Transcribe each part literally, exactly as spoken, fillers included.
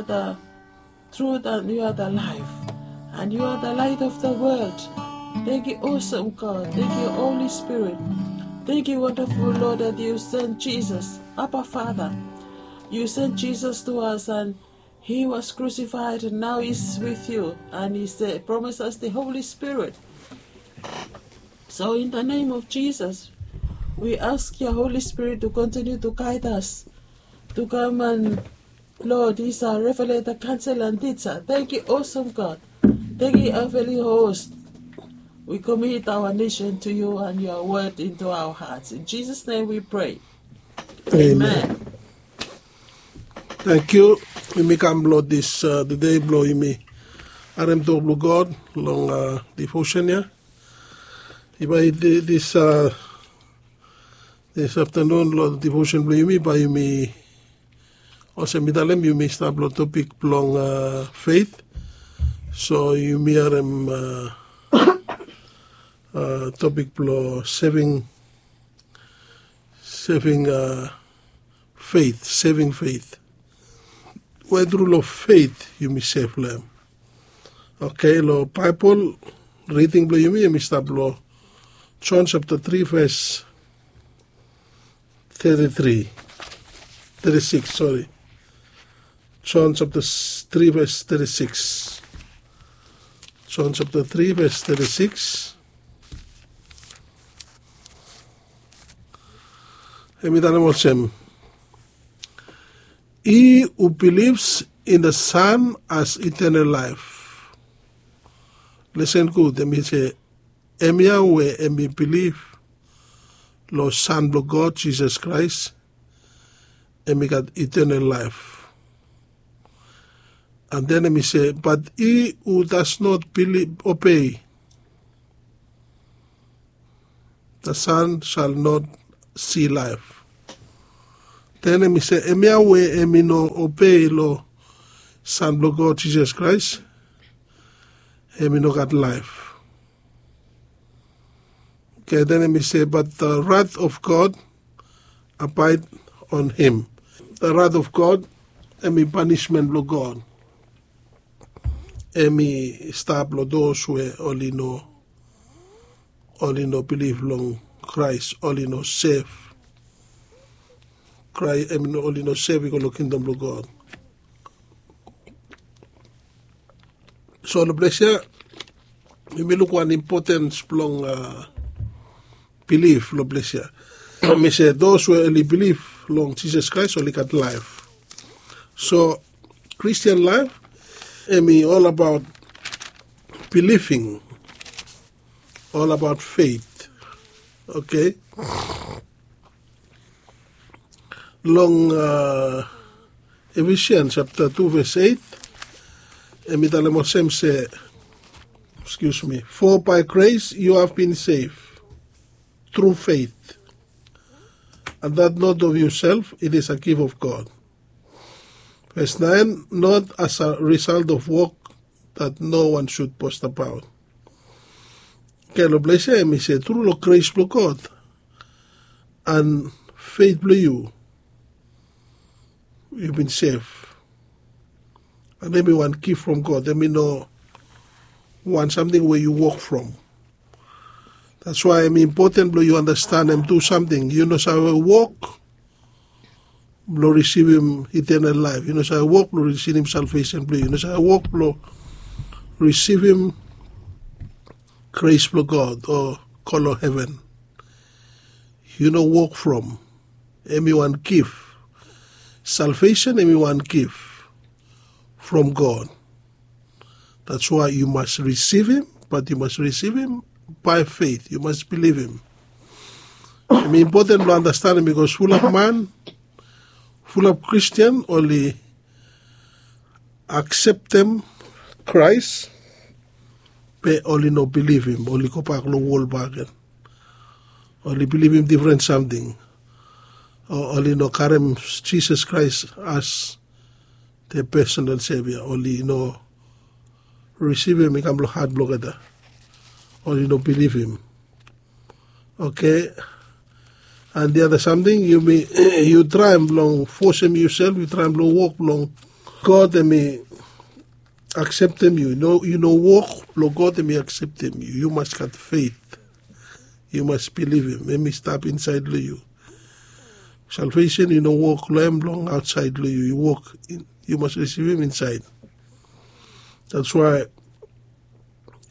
the truth and you are the life. And you are the light of the world. Thank you, awesome God. Thank you, Holy Spirit. Thank you, wonderful Lord, that you sent Jesus, Abba Father. You sent Jesus to us and he was crucified and now he's with you. And he said, promise us the Holy Spirit. So in the name of Jesus, we ask your Holy Spirit to continue to guide us to come and Lord, he's our revelator, counselor, and teacher. Thank you, awesome God. Thank you, heavenly host. We commit our nation to you and your word into our hearts. In Jesus' name we pray. Amen. Thank you. Yumi kam blong this uh, the day blong yumi harem tok blong God long uh, devotion ya. Bae this uh, this afternoon long devotion blong yumi bae yumi Olsem mi talem yumi stap long topik blong uh, faith. So yumi harem uh, uh, topik blong saving saving uh, faith, saving faith. We tru long faith yumi save long em. Okay, long Bible reading blong yumi yumi stap long John chapter three verse thirty-three, thirty-six, sorry. John chapter three verse thirty-six. John chapter three verse thirty-six. Hem i talem olsem, he who believes in the Son has eternal life. Listen good, hem i se, hemia we hem i bilif long Son blong God, Jisas Kraes, hem i gat eternal laef. And then hem i se, but he who does not believe, obey the Son shall not see life. Then hem i se, hemia we hem i no obei long Son blong God, Jisas Kraes, hem i no gat laef. Okay, then hem i se, but the wrath of God abide on him. The wrath of God, hem i panishmen blong God, hem i stap long those we oli no, oli no bilif long Kraes, oli no sev. Kraes, hem i no, oli no sev i go long kingdom blong God. So long ples ya yumi luk wan impotens blong bilif long ples ya. Mi se those we oli bilif long Jisas Kraes oli gat laef. So Christian life, hem i ol abaot biliving, ol abaot feit. Okay. Long Ephesians chapter two verse eight, hem i talem olsem se, excuse me, for by grace you have been saved through faith, and that not of yourself, it is a gift of God. Verse nine, not as a result of work, that no one should boast about. Okay, long ples ya hem i se tru long grace blong God and feit blong yu, yu bin sev. And hem i wan gift from God, hem i no wan samting we yu wok from. That's why hem i impoten blong yu andastanem tu samting. Yu no save wok blong risivim eternal laef. Yu no save wok blong risivim salvesen blong yu. Yu no save wok blong risivim grace blong God o go long heven. Yu no wok from. Hem i wan gif. Salvesen hem i wan gif from God. That's why yu mas risivim, bat yu mas risivim by faith. Yu mas bilivim. Hem i impoten blong andastanem bikos fulap man, fulap Kristian oli akseptem Kraes, be oli no bilivim, oli gobak long wol bakegen. Oli bilivim difren samting. O oli no karem Jisas Kraes as their personal Savior. Oli no risivim hem i kam long hat blong olgeta. Oli no bilivim. Okay. And the other samting, yumi, yu traem blong fosem yusel, yu traem blong wok blong God em i akseptem yu. Yu no wok blong God em i akseptem yu. Yu mas gat feit. Yu mas bilivim em i stap insaed long yu. Salvesen yu no wok long em long aotsaed long yu. Yu wok, yu mas risivim insaed. That's why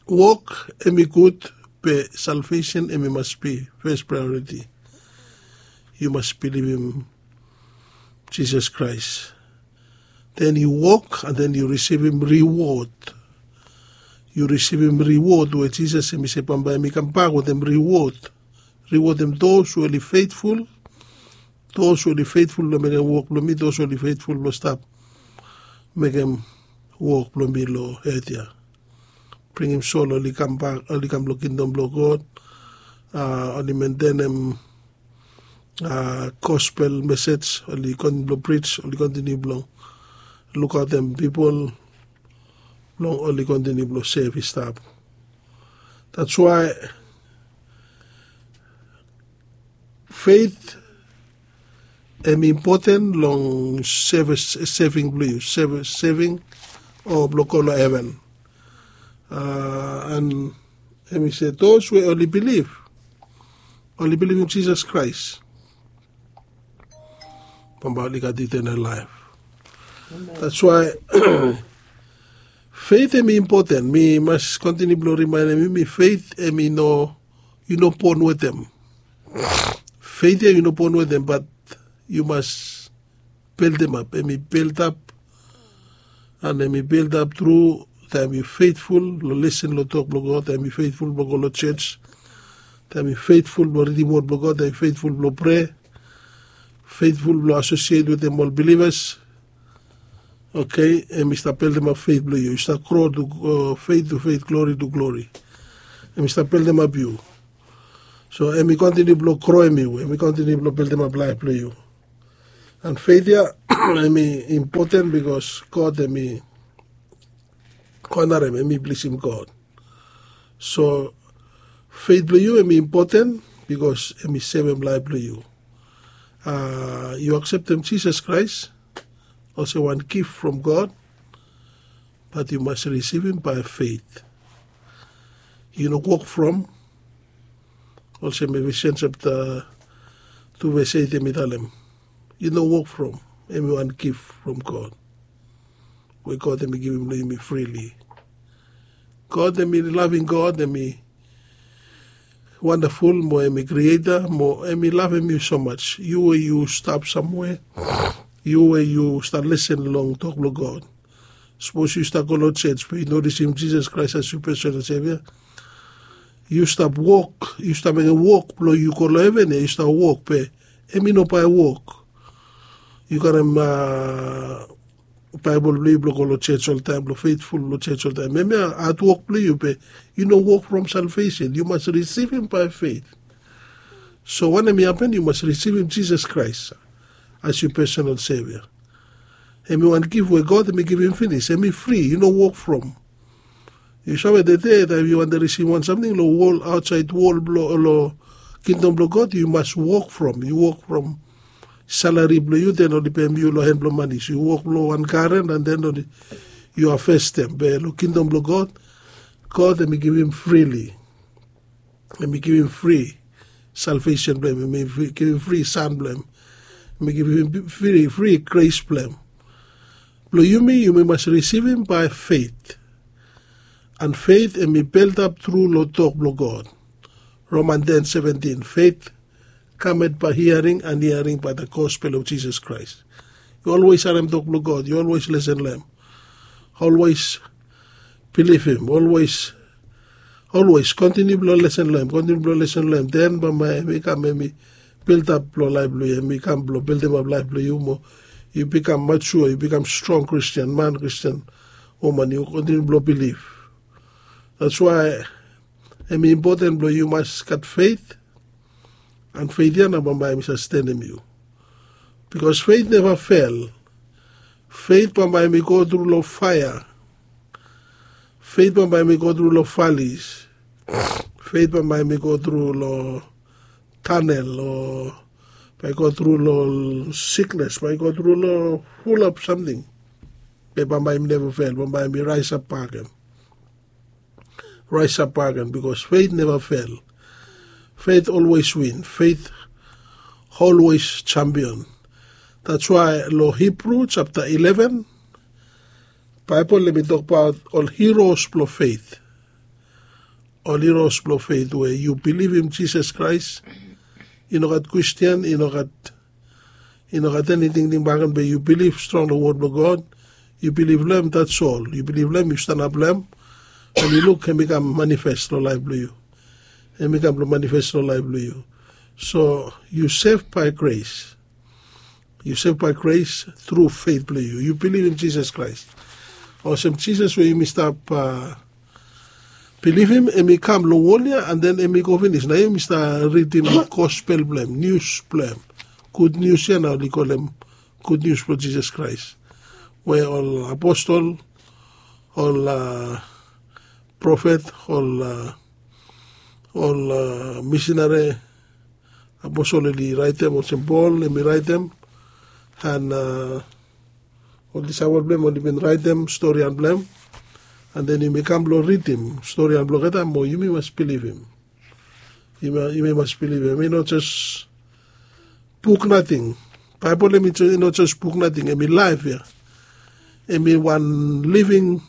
wok em i gud, be salvesen em i mas bi fes praeoriti. Yu mas bilivim Jisas Kraes. Den yu wok an den yu risivim riwod. Yu risivim riwod we Jisas em i se bambae em i kambak wetem riwod. Riwod em dos we oli feitful, dos we oli feitful blong mekem wok blong mi, dos we oli feitful blong stap mekem wok blong mi long ed ya. Bringim sol oli kambak, oli kam long kingdom blong God. Oli mentenem gospel mesej, oli kontiniu blong prij, oli kontiniu blong lukaotem pipol blong oli kontiniu blong sev i stap. That's why feit em i impoten long seving blong yu, seving o blong go long heven. An em i se dos we oli bilif, oli bilivim Jisas Kraes, bambae oli gat itenal laef. That's why feit em i impoten. Mi mas kontiniu blong rimaenem yumi, feit em i no, yu no bon wetem. Feit ya yu no bon wetem, bat yu mas beldemap. Em i beldap, an em i beldap tru taem yu feitful long lesen long tok blong God, taem yu feitful blong go long jos, taem yu feitful blong ridim wod blong God, taem yu feitful blong prea, feitful blong asosiet wetem ol bilivas. Okei, em i stap beldemap feit blong yu. Yu stap gro tu feit tu feit, glori tu glori. Em i stap beldemap yu. So em i kontiniu blong groem yu, em i kontiniu blong beldemap laef blong yu. An feit ya em i impoten bikos God em i onarem, em i blisim God. So feit blong yu em i impoten bikos em i sevem laef blong yu. Yu akseptem Jisas Kraes olsem wan gif from God, bat yu mas risivim bae feit. Yu no wok from, olsem Efesian japta tu ves eit em i talem, yu no wok from, em i wan gif from God, we God em i givim long yumi frili. God em i laving God, em i wandaful, mo em i krieta, mo em i lavem yu so maj. Yu we yu stap samwe, yu we yu stap lesen long tok blong God, sapos yu stap go long jos be yu no risivim Jisas Kraes as yu pesonal sevia, yu stap wok, yu stap mekem wok blong yu go long heven ya, yu stap wok be em i no bae wok. Yu karem Baebol blong yu blong go long jos oltaem, blong feitful long jos oltaem, hemia hatwok blong yu be yu no wok from salvesen. Yu mas risivim bae feit. So wanem i hapen? Yu mas risivim Jisas Kraes as yu pesonal sevia. Em i wan gif we God em i givim finis. Em i fri, yu no wok from. Yu save tede taem yu wantem risivim wan samting long wol, aotsaed wol blong, long kingdom blong God, yu mas wok from. Yu wok from salari blong yu, den oli pem yu long hen blong mani. So yu wok long wan garen an den oli, yu havestem. Be long kingdom blong God, God em i givim frili. Em i givim fri salvesen blong hem. Em i givim fri san blong hem. Em i givim fri, fri gres blong hem. Blong yumi, yumi mas risivim bae feit. An feit em i beldap tru long tok blong God. Roman ten seventin, feit kamet bae hiaring, an hiaring bae the gospel of Jisas Kraes. Yu olwes harem tok blong God, yu olwes lesen long hem. Olwes bilivim, olwes, olwes kontiniu blong lesen long hem, kontiniu blong lesen long hem. Den bambae hem i kam, hem i beldap blong laef blong yu, hem i kam blong beldemap laef blong yu mo yu bikam majua, yu bikam strong Kristin man, Kristin woman, yu kontiniu blong bilif. That's why hem i impoten blong yu mas gat feit. An feit ya nao bambae hem i sastenem yu. Bikos feit neva fel. Feit bambae hem i go tru long faea. Feit bambae hem i go tru long valis. Feit bambae hem i go tru long tanel, o bae i go tru long siknes, bae i go tru long fulap samting. Bambae yumi neva fel, bambae yumi raesap bagen. Raesap bagen, bikos feit neva fel. Feit olwes win. Feit olwes jampion. Dats wae long Hibru japta eleven, Baebol hem i tokbaot ol hiros blong feit. Ol hiros blong feit we yu bilivim Jisas Kraes. I no gat kwestin, i no gat i no gat eni tingting bagen, be yu bilif strong long wod blong God. Yu bilif long em, dats ol. Yu bilif long em, yu stanap long em, and yu luk hem i kam manifes long laef blong yu. Hem i kam blong manifes long laef blong yu. So yu sev bae gres. Yu sev bae gres tru feit blong yu. Yu bilivim Jisas Kraes. Olsem Jisas we yumi stap bilivim, hem i kam long wol ya, and then hem i go finis. Nao yumi stap ridim gospel blong hem, nius blong hem. Gud nius ya nao oli kolem gud nius blong Jisas Kraes, we ol aposol, ol profet, ol ol misinari, aposol oli raetem, olsem Pol hem i raetem, and ol disaepol blong hem oli bin raetem storian blong hem. And then yumi kam blong ridim storian blong olgeta mo yumi mas bilivim. Yumi mas bilivim hem i no jes buk nating. Baebol hem i no jes buk nating, hem i laef ya. Hem i wan living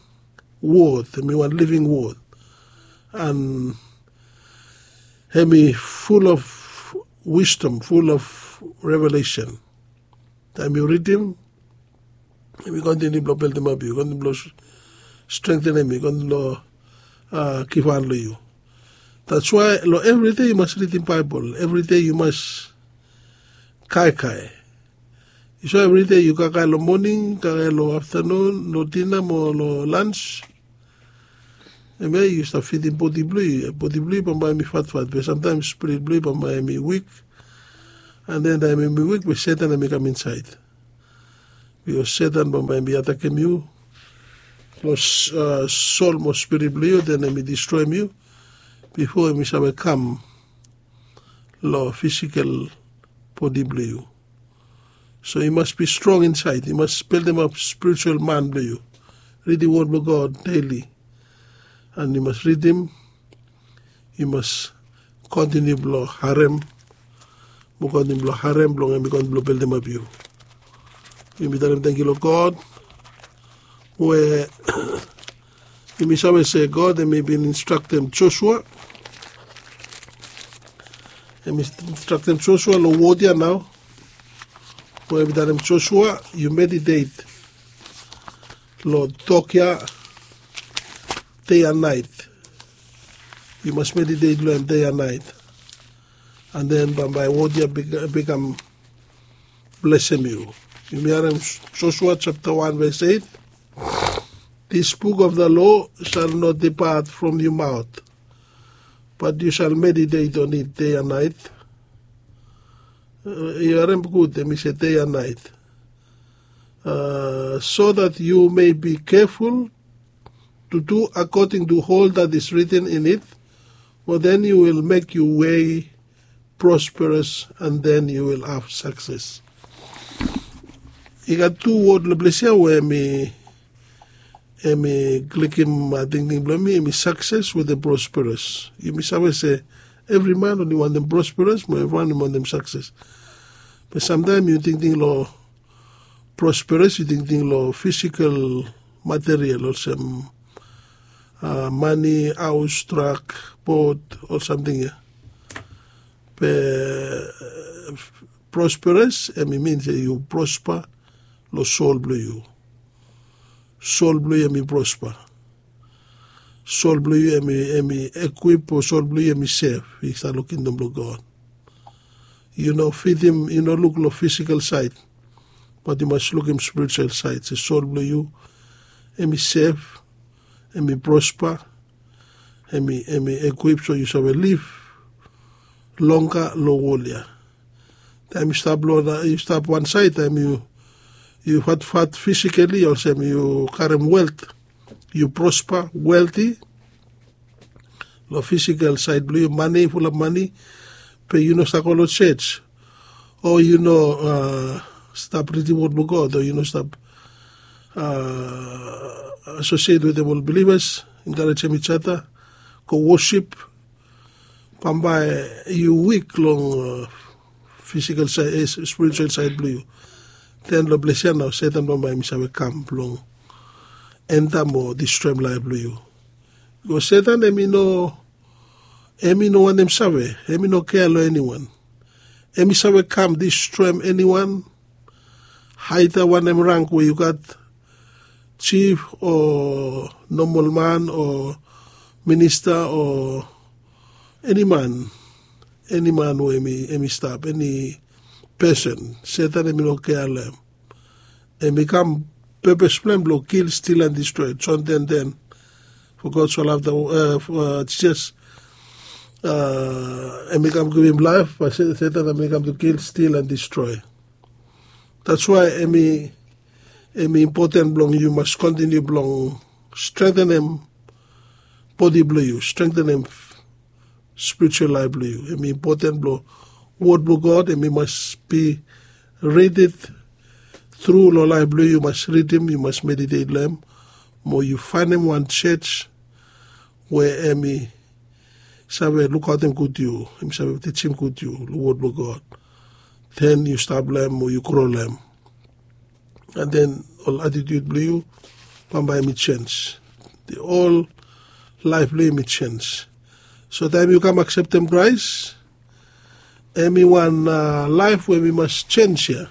wod, hem i wan living wod. And hem i ful of wisdom, ful of revelesen. Taem yu ridim, hem i kontiniu blong beldimap yu, kontiniu blong strengtenem yu, kontiniu blong givhan long yu. Dats wae long evri dei yu mas ridim Baebol. Evri dei yu mas kaikai. Yu save evri dei yu kaikai long moning, kaikai long aftanun, long dina mo long lans. Hemia yu stap fidim bodi blong yu. Bodi blong yu bambae hem i fatfat, be samtaem spirit blong yu bambae hem i wik. And then taem hem i wik, be Setan hem i kam insaed. Bikos Setan bambae hem i atakem yu long sol mo spirit blong yu, then hem i distroem yu bifo hem i save kam long fisikel bodi blong yu. So yu mas bi strong insaed, yu mas beldimap spiritual man blong yu. Ridim wod blong God deli. And yu mas ridim, yu mas kontiniu blong harem, mo kontiniu blong harem blong hem i kontiniu blong beldimap yu. Yumi talem tangkiu long God we yumi save se God hem i bin instraktem Josua. Hem i instraktem Josua long wod ya nao, we hem i talem Josua, yu meditet long tok ya dei and naet. Yu mas meditet long hem dei and naet. And then bambae wod ya bikam blesem yu. Yumi harem Josua japta wan ves eit. This book of the law shall not depart from your mouth, but you shall meditate on it day and night. Yu harem gud, hem i se day and night. So that you may be careful to do according to all that is written in it, for then you will make your way prosperous, and then you will have success. I gat tu wod long ples ya we hem i klikim tingting blong mi, hem i success wetem prosperous. Yumi save se evri man oli wantem prosperous mo evriwan oli wantem success. Be samtaem yu tingting long prosperous, yu tingting long fisikal material olsem mani, haos, trak, bot, ol samting ya. Be prosperous hem i min se yu prospa long sol blong yu. Sol blong yu hem i prospa. Sol blong yu hem i ekwip, o sol blong yu hem i sef i stap long kingdom blong God. Yu no fidim, yu no luk long fisikal saed, bat yu mas lukim spiritual saed se sol blong yu hem i sef, hem i prospa, hem i ekwip so yu save liv longga long wol ya. Taem yu stap long yu stap wan saed, taem yu fatfat fisikali olsem yu karem welt, yu prospa, welti long fisikal saed blong yu, mane, fulap mane, be yu no stap go long jos, o yu no stap ridim wod blong God, o yu no stap asosiet wetem ol bilivas, enkarejem ijata, go wosip. Bambae yu wik long fisikal saed spiritual saed blong yu. Den long ples ya nao setan bambae em i save kam blong enta mo distroem laef blong yu. Bikos setan em i no em i no wantem save, em i no kea long eniwan. Em i save kam distroem eniwan, haida wanem rang we yu gat, jif o nomol man o minista o eni man eni man we em i stap eni pesen, setan em i no kea long em. Em i kam pepes blong em blong kil stil an distroe jon ten ten. Fo god so lafta jisas em i kam givim laef bat setan em i kam tu kil stil an distroe. Dats wae em i em i impoten blong yu mas kontiniu blong strengtenem bodi blong yu, strengtenem spiritual laef blong yu. Em i impoten blong wod blong god em i mas bi ridit tru long laef blong yu yu mas ridim yu mas meditet long em, mo yu faenem wan jej we em i save lukaotem gud yu, em i save tijim gud yu long wod blong god. Den yu stap long em o yu gro long em. An den ol atitiut blong yu bambae em i jenj. Ol laef blong yu em i jenj. So taem yu kam akseptem kraes, em i wan laef we em i mas jenj ya.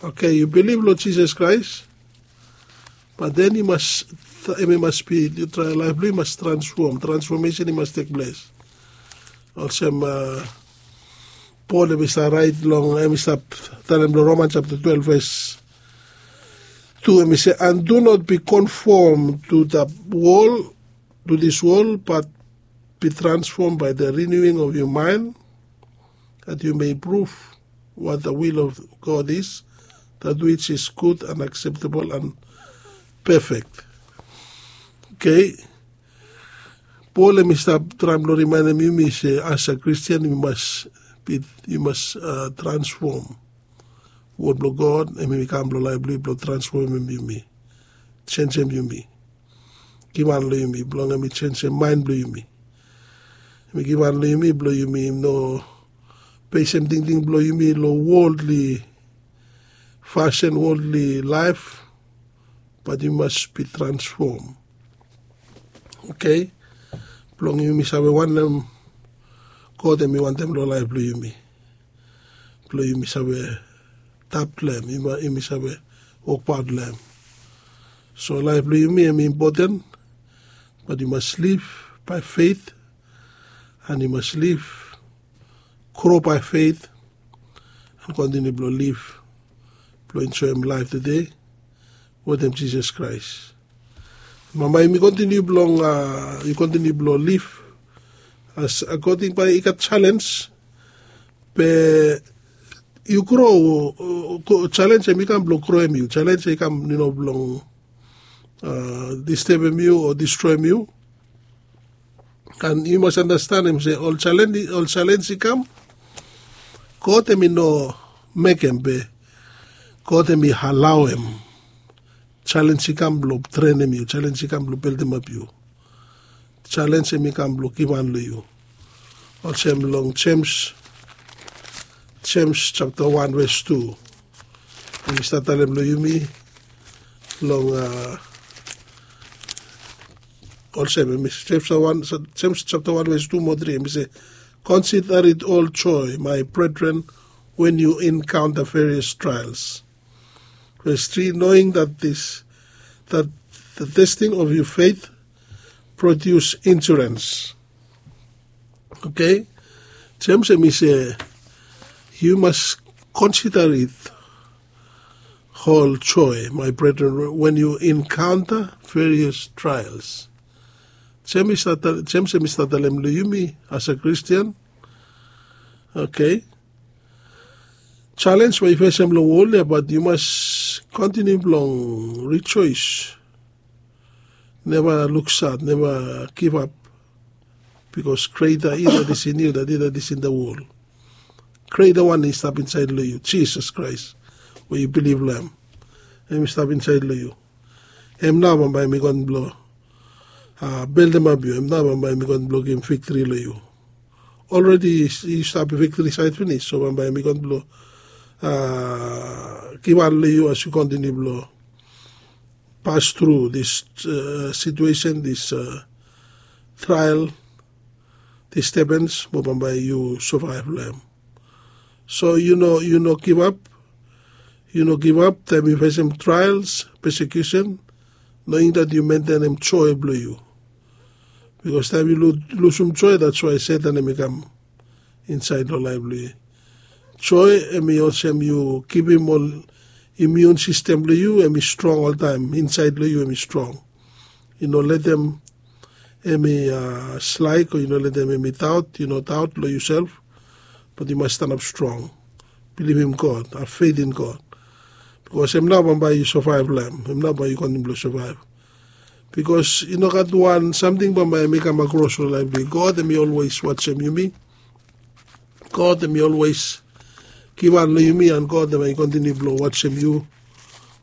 Oke, yu bilif long jisas kraes, bat den yu mas em i mas bi yu trae laef blong yu mas transfom transfomesen i mas tekples. Olsem pol em i stap raet long em i stap talem long roman japta twelv ves tu em i se and do not be konfom tu da wol, tu dis wol bat be transfom bai da riniuing of yu maen, dat yu mei pruf wat da wil of god is, dat wij is gud an akseptabol an pefek. Oke. Pol em i stap traem blong rimaenem yumi se as a kristian yu mas transfom. Wod blong god em i kam blong laef blong yu blong transfomem yumi, jenjem yumi, givhan long yumi blong em i jenjem maen blong yumi. Em i givhan long yumi blong yumi no besem tingting blong yumi long woldli fasin, woldli laef, bat yu mas bi transfom. Oke. Blong yumi save wanem god em i wantem long laef blong yumi, blong yumi save tap long em, yumi save wokbaot long em. So laef blong yumi em i impoten, bat yu mas liv bae feit, an yu mas liv gro bae feit, an kontiniu blong liv blong enjoem laef tede wetem jisas kraes. Bambae yumi kontiniu blong yu kontiniu blong liv as akoding bae i gat jalenj. Be yu gro, jalenj em i kam blong groem yu, jalenj em i kam yu no blong distebem yu o distroem yu. An yu mas anastenem se ol jalenj i kam, god em i no mekem be god em i alaoem. Jalenj i kam blong trenem yu, jalenj i kam blong beldemap yu. Jalenj em i kam blong givhan long yu. Olsem long jems jems japta wan ves tu, em i stap talem long yumi long a olsem em i se jems japta wan ves tu mo tri em i se, consider it all joy my brethren, when you encounter various trials. Ves tri, knowing that this that the testing of your faith produce endurance. Oke. Jems em i se, yu mas konsider it hol joe mai bredren, wen yu enkaonta various traels. Jems em i stap talem long yumi as a kristian. Oke. Jalens we yu fesem long wol ya bat yu mas kontiniu blong rijoes. Neva luksat, neva givap. Bikos greta i dat is in yu dat i dat is in da wol. Greta wan i stap insaed long yu, jisas kraes, we yu bilif long em. em i stap insaed long yu. Em nao bambae em i gon blong beldemap yu. Em nao bambae em i gon blong givim viktri long yu. Olredi yu stap viktri saed finis, so bambae em i gon blong givan long yu as yu kontiniu blong pas tru dis situesen, dis trael, distebens, mo bambae yu savaev long em. So yu no yu no givap. Yu no givap taem yu fesem traels, pesekiusen, noing dat yu mentenem joe blong yu. Bikos taem yu lusum joe, dats wae setan em i kam insaed long laef blong yu. Joe em i olsem yu givim ol imiun sistem blong yu em i strong oltaem, insaed long yu em i strong. Yu no letem em i slaek o yu no letem em i daot. Yu no daot long yusel, bat yu mas stanap strong. Bilivim god, hav fet in god. Bikos em nao bambae yu savaev long em. Em nao bambae yu kontiniu blong savaev. Bikos i no gat wan samting bambae em i kam akros long laef blong yu. God em i olwes wajem yumi. God em i olwes givan long yumi, an god em i kontiniu blong wajem yu.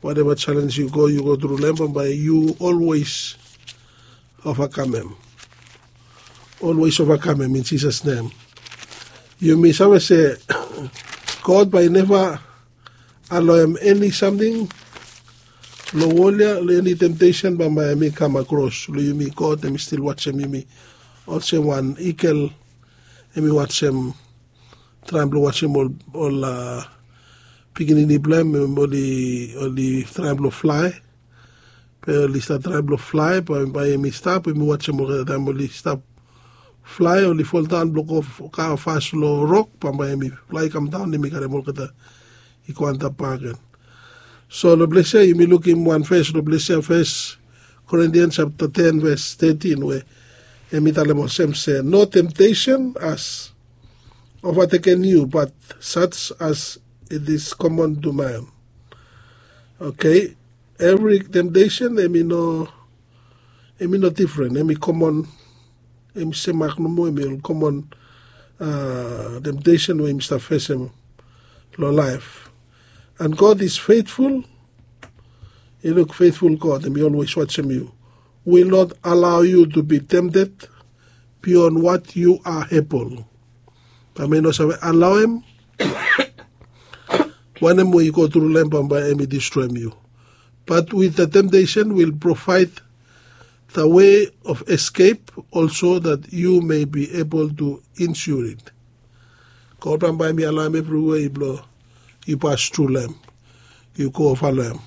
Wateva jalenj yu go yu go tru long em, bambae yu olwes ovakamem. Olwes ovakamem in jisas nem. Yumi save se god bae i neva aloem eni samting long wol ya, long eni temtesen bambae em i kam akros long yumi. God em i stil wajem yumi olsem wan igel em i wajem, traem blong wajem ol pikinini blong em oli traem blong flae. Be oli stap traem blong flae, bae em i stap em i wajem olgeta taem oli stap flae, oli foldaon blong go kava fas long rok, bambae em i flae i kamdaon em i karem olgeta i go antap bakegen. So long ples ya yumi lukim wan ves long ples ya, fes Korintian japta ten ves tetin, we em i talem olsem se, no temtesen has ovateken yu, bat saj as it is komon tu man. Okei. Evri temtesen em i no em i no difren, em i komon. Em i semak nomo, em i ol komon temtesen we yumi stap fesem long laef. And god is feitful. I luk feitful god em i olwes wajem yu. Will not allow you to be tempted beyond what you are able. Bae mi no save alaoem wanem we i go tru long em bambae em i distroem yu. But with the temptation will provide the way of escape also that you may be able to insure it. God bambae mi alaoem evriwe blong yu pas tru long em, yu go ova long em.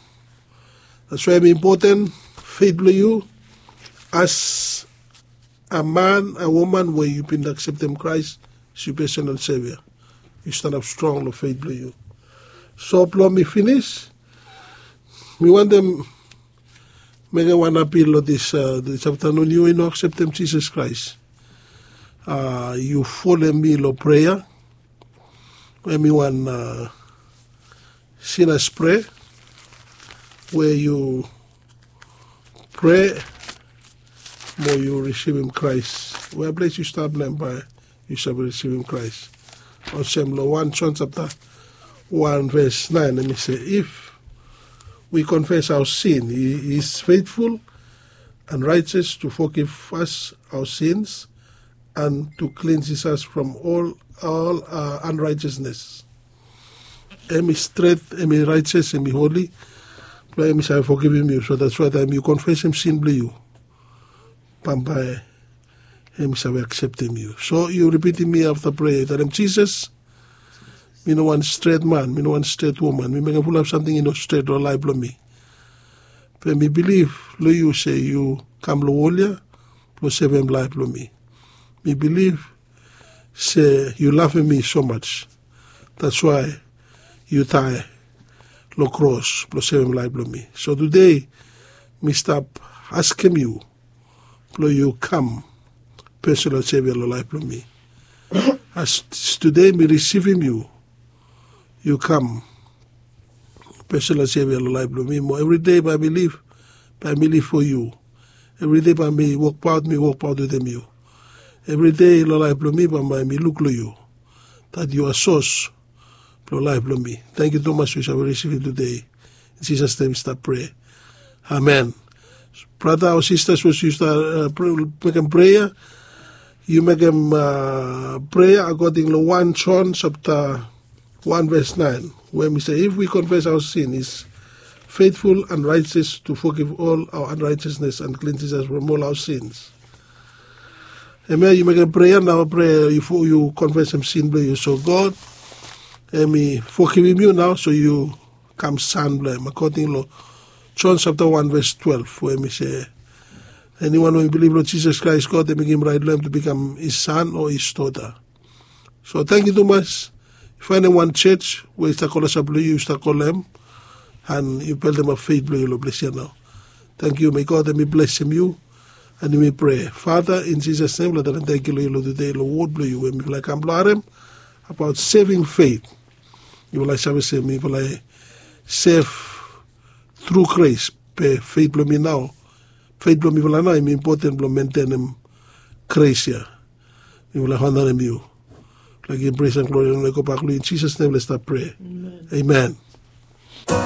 That's why em impoten fet blong yu as a man, a woman we yu bin akseptem Kraes as yu personal sevia. Yu stanap strong long fet blong yu. So blong mi finis, mi wantem mekem wan apil long dis dis aftanun. Yu we yu no akseptem Jisas Kraes, yu folem mi long prea we mi wan sinas prea we yu prea mo yu risivim Kraes. Wea ples yu stap long em bae yu save risivim Kraes. Olsem long wan Jon sapta wan ves naen em i se, if we confess our sin, he is faithful and righteous to forgive us our sins and to cleanses us from all our unrighteousness. Em i stret, em i raetes, em i holi. Blong em i save fogivim yu. So that's why taem yu konfesem sin blong yu, bambae em i save akseptem yu. So yu ripitim mi afta prea, yu talem, Jisas, mi no wan stret man, mi no wan stret woman, mi mekem fulap samting i no stret long laef blong mi. Be mi bilif long yu se yu kam long wol ya blong sevem laef blong mi. Mi bilif se yu lavem mi so maj, that's why yu dae long kros blong sevem laef blong mi. So tude mi stap askem yu blong yu kam pesonal sevia long laef blong mi. As tude mi risivim yu, yu kam pesonal sevia long laef blong mi. Mo evride bae mi liv, bae mi liv fo yu. Evride bae mi wokbaot, mi wokbaot wetem yu. Evride long laef blong mi bambae mi luk long yu, dat yu a sos blong laef blong mi. Tangkiu tumas we yu save risivim tude. Jisas nem mi stap prea. Amen. Brata o sistas we yu stap mekem prea, yu mekem prea akoding long wan John sapta wan ves naen, we mi se if wi konfes aoa sin is feitful an raetes tu fogiv ol aoa anraetesnes an klinsis as from ol aoa sins. Hemia yu mekem prea nao prea yu konfesem sin blong yu so god hem i fogivim yu nao so yu kam san blong hem akoding long John sapta wan ves twelef we hem i se eniwan we i bilif long Jisas Kraes god hem i givim raet long hem tu bikam his san o his dota. So tangkiu tumas. Yu faenem wan joj we i stap kolosap long yu yu stap kolem an yu beldemap feit blong yu long ples ya nao. Tangkiu me god hem i blesem yu. An yumi prea fata in Jisas nem long talem tangkiu long yu long tude long wod blong yu we mifala i kam blong harem abaot seving feit. Yufala i save se mifala i sev tru graes be feit blong mi nao feit blong mifala nao hem i impoten blong mentenem graes ya. Mifala i honarem yu. Mifala givim pres an glori long hem i gobak long yu in Jisas nem mifala i stap prea. Amen.